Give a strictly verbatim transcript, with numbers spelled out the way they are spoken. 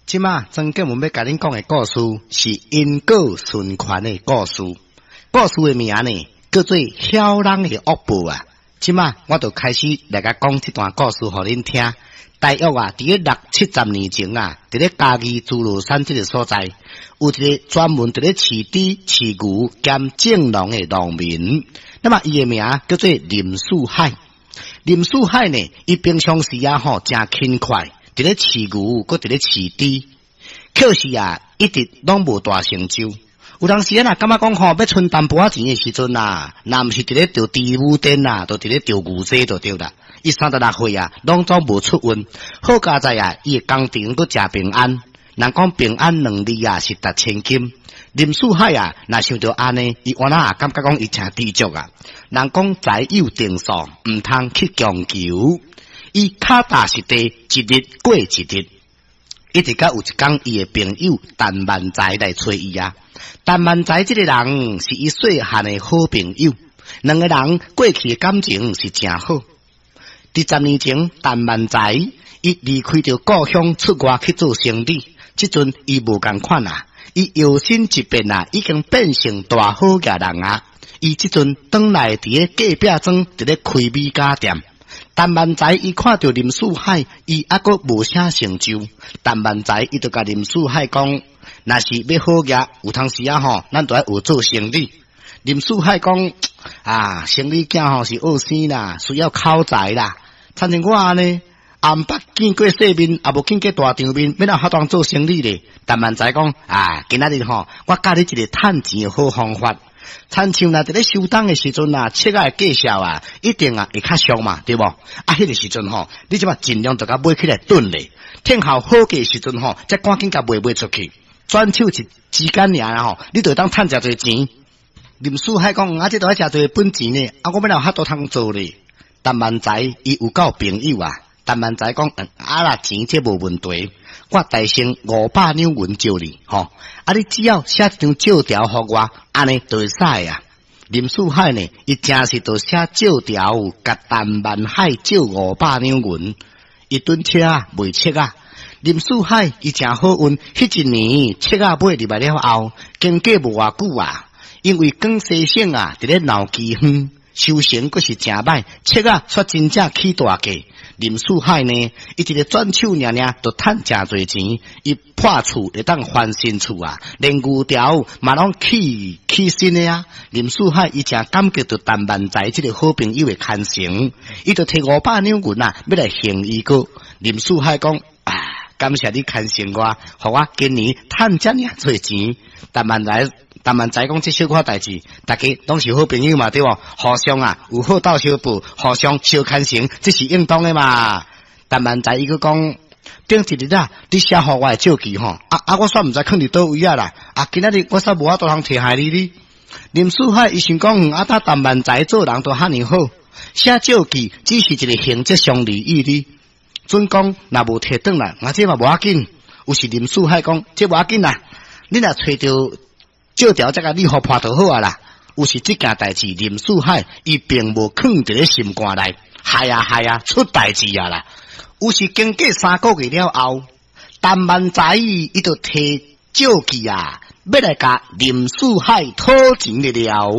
這馬曾建文欲共恁講的故事是因果循環的故事。故事的名呢，叫做曉人的惡報啊。這馬我就開始來共講這段故事予恁聽。大約啊，佇咧六七十年前啊，佇咧嘉義諸羅山這个所在，有一个專門佇咧飼豬、飼牛兼種農的農民。那麼伊的名叫做林四海。林四海呢，伊平常時啊吼，誠勤快，佇咧飼牛，閣佇咧飼豬，可是啊，一直攏無大成就。有當時啊，若感覺講吼，欲賰淡薄仔錢的時陣啊，若毋是佇咧釣豬母電啊，就佇咧釣牛仔就對啦。伊三十六歲啊，攏總無出運。好佳哉啊，伊的工程閣誠平安。人講平安兩字啊，是值千金。林四海啊，若想著按呢，伊原來也感覺講伊誠知足啊。人講財有定數，毋通去強求。伊跤踏實地，一日過一日。一直到有一工，伊的朋友陳萬才來揣伊啊。陳萬才這个人是伊細漢的好朋友，兩个人過去的感情是誠好。佇十年前，陳萬才伊離開著故鄉出外去做生意，這陣伊無仝款啊，伊搖身一變啊，已經變成大好額人啊。伊這陣轉來佇咧隔壁莊，佇咧開米家店。陳萬才伊看著林四海，伊猶閣無啥成就。陳萬才伊就共林四海講：若是欲好額，有當時啊吼，咱就愛學做生意。林四海講：啊，生意囝吼是學生啦，需要口才啦。親像我按呢，也毋捌見過世面，也無見過大場面，欲哪有法度做生意咧？陳萬才講：啊，今仔日吼，我教你一个趁錢的好方法。親像若佇咧收冬的時陣啊，粟仔的價數啊，一定啊會較俗嘛，對無？啊，彼个時陣吼，你這馬盡量就共買起來囤咧，等候好價時陣吼，才趕緊共賣賣出去。轉手一之間爾吼，你就會當趁誠濟錢。林四海講，啊，這著愛誠濟本錢呢，啊，我欲哪有法度通做咧？陳萬才伊有夠朋友啊，陳萬才講，啊啦，錢這無問題，我代先五百兩銀借你，吼，啊，你只要寫一張借條予我，按呢就會使啊。林四海呢，伊誠實就寫借條，共陳萬海借五百兩銀，伊囤粟仔賣粟仔。林四海伊誠好運，彼一年粟仔買入來了後，經過無偌久啊，因為廣西省啊，佇咧鬧饑荒。收成閣是誠歹，粟仔煞真正起大價。林四海呢，伊一个轉手爾爾，就趁誠濟錢。伊破厝會當翻新厝啊，連牛條嘛攏起起新的啊。林四海伊誠感激著陳萬才這个好朋友的牽成，伊就提五百兩銀啊，欲來還伊閣。林四海講啊，感謝你牽成我，予我今年趁遮爾濟錢。陳萬才。陳萬才講這小可代誌，大家攏是好朋友嘛，對無？互相啊有好鬥相報，互相相牽成，這是應當的嘛。陳萬才伊閣講，頂一日啊，你寫予我的借據吼，啊啊，我煞毋知囥佇佗位啊啦。啊，今仔日我煞無法度通提予你哩。林四海伊想講，啊，他陳萬才做人都遐爾好，寫借據只是一个形式上而已哩。準講若無提轉來，啊，這嘛無要緊。有時林四海講，這無要緊啦，你若揣著借條才共你予破就好啊啦。有時這件代誌，林四海伊並無囥佇咧心肝內，害啊害啊出代誌啊啦。有時經過三個月了後，陳萬才伊就提借據啊，欲來共林四海討錢的了。